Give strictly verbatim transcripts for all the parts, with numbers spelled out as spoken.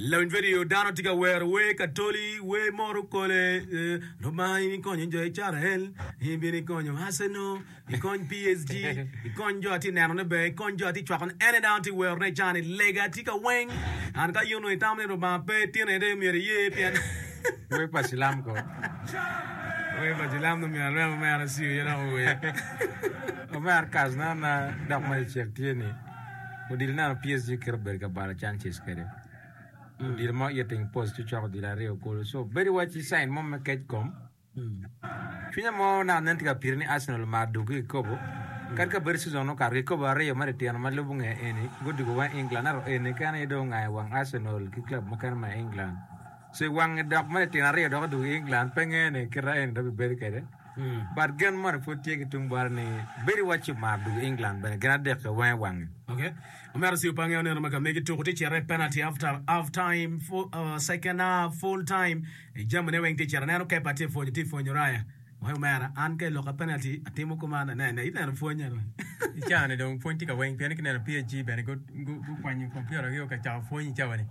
Lawiny video dano tye ka wero wer katoli wer moro kole eh, Lubanga in ikonyo jo Icrael in bino ikonyo Arsenal ikony PSG ikony jo atye nenone ber ikony jo atye cwakone ene dano tye werone i cani lega tye ka weng an ka in onongo itamo ni Lubanga pe tine de myero iye pien Wer pa cilam ko. Wer pa cilam dong myero alweny omera ciyo aye dok ower. Omera kas na na dok ma icek tye ni odilo neno PSG kit obedo ka balo chances kwede. Odilo mo hitting post ci ocoko odilo aryo kulu so bedo iwaci sign mo me kec kom. Cwinya mo naka nen tye ka piri ni Arsenal omar dwogo ki kikopo kadi ka bedo season okato kikopo aryo ma litino ma lubo nge eni gudwogo weng England ento eni kene aye dong ongayo wang Arsenal ki club mukene ma i England so i wange dok ma litino aryo dok odwogo i England pe nge ni kita eni dok bibedo kwede but gen moni pud tye ki tung bote ni bedo iwaci omar dwogo i England bene gin adek-ki weng i wange. Okay. Omera Siu Pange oneno ma ka megi tuko tye cito i penalty after half time, full, uh, second half, full time. I jamine weng tye cito aneno Kepa tye pwonyo tye pwonyo Raya. Wai omera an ka i lok a penalty atimo kuman ane ine ineno pwony eno. I cawa ni dong pwony tye ka weng pien ki neno PSG bene gukwanyo computer gi ka cako pwony i cawa ni.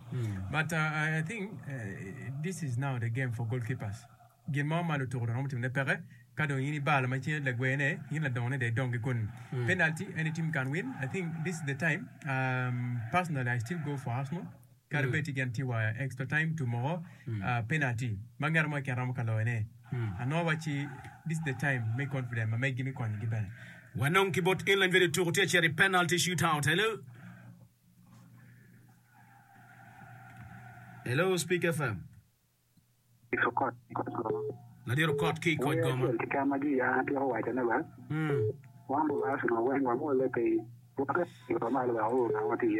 But uh, I think uh, this is now the game for goalkeepers. Gin mo ma lutuku dong romo timone peke ka dong in ibalo ma cen lagwene in ladongone dong idong ki kunu. Penalty any team can win. I think this is the time um, personally I still go for Arsenal. Kadi bed ti gin tye wa extra time to moko penalty ma ngat mo keken romo ka loyone. Anongo wacci this is the time me confidence ma meggi me konyogi bene. Wanong ki bot England bedo tuko tye acito i penalty shootout. Hello. Hello, Speak FM. Ladit Okot ki i Koc Wer Goma. acel keken ma jwi an atyeko wacone ba, wan lu Arsenal weng wamwolle piny, waket yo malo wek our ka ma watye iye.